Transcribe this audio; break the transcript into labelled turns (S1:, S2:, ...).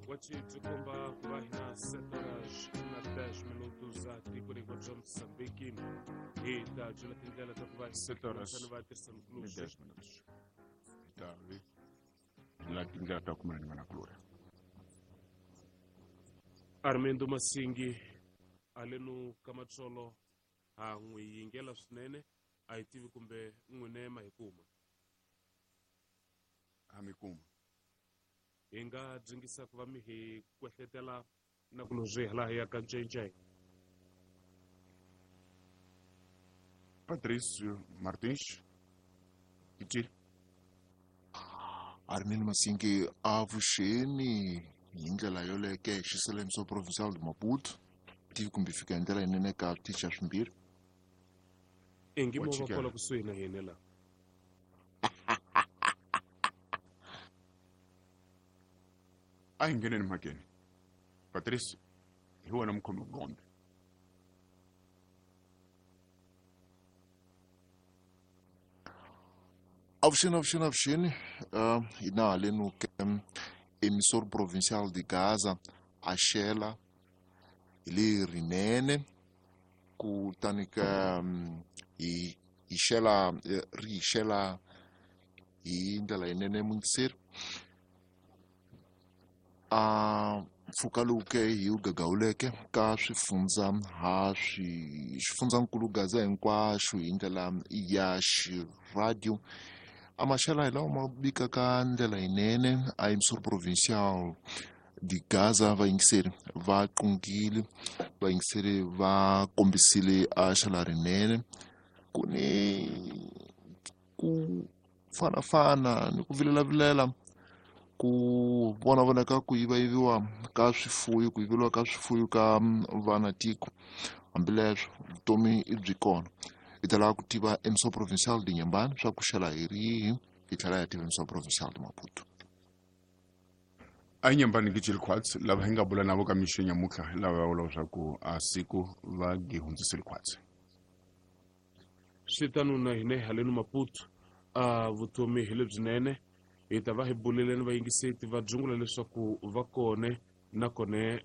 S1: Wachi byi komba ku va hina 7 horas na 10 minutos a tikweni hinkwaro bya Mozambique. Hi ta byela tindlela ta ku va
S2: 7 horas
S1: va tirhisa
S2: ni
S1: mukulusi.
S2: 10 minutos. Hi ta vi la tindlela ta kumela ni vanakulorhi.
S1: Armando Masingi alenu Kamatsolo ha n'wi yingela swinene, a hi tivi kumbe n'wine ma hi kuma.
S2: Ha mi kuma.
S1: Hi nga dzingisa ku va mi hi kwehletela na ku lozwi hala hi ya ka ncence.
S2: Patricio Martins Iti.
S3: Armin Masingi avuxeni hi ndlela yoleke xiselemiso provincial de Maputo tivi kumbe fika hi ndlela yinene ka ticha swimbirhi.
S1: Ingi
S2: Wa
S1: mo va
S2: chikela.
S1: kwala kusuhi na hina la.
S2: A hi ngheneni mhakeni. Patricio, hi wena mukhomi gombe.
S3: Avuxeni, avuxeni, avuxeni. Hina halenu ke emissor provincial de Gaza axela hi le rinene kutani ka hi hi xela ri hi xela hi ndlela yinene mungiseri. A mpfhuka lowu ke hi wu gagawuleke ka swifundza ha swi xifundzankulu Gaza hinkwaxo hi ndlela ya xiradio. A maxela hi lawa ma bikaka ndlela yinene a emissor provincial de Gaza vayingiseri va qungile, vayingiseri va kombisile a xela rinene. Ku ni ku fanafana ni ku vilelavilela ku vona vonaka ku yivayiviwa ka swifuyo, ku yiveriwa ka swifuyo ka vana tiko. Hambileswo vutomi i byi kona. Hi ta lava ku tiva emissor provincial de Inhambane swa ku xela hi rihi, hi tlhela hi tiva emissor provincial de Maputo.
S2: A Inhambane Gijil Khwatsi lava hi nga bula navo ka mixo nyamutlha lava va vula leswaku a siku va gi hundzisile khwatsi.
S1: Swi tano na hina halenu Maputo, a vutomi hi lebyinene. Hi ta va hi buleleni vayingiseti va dzungula leswaku va kone na kone.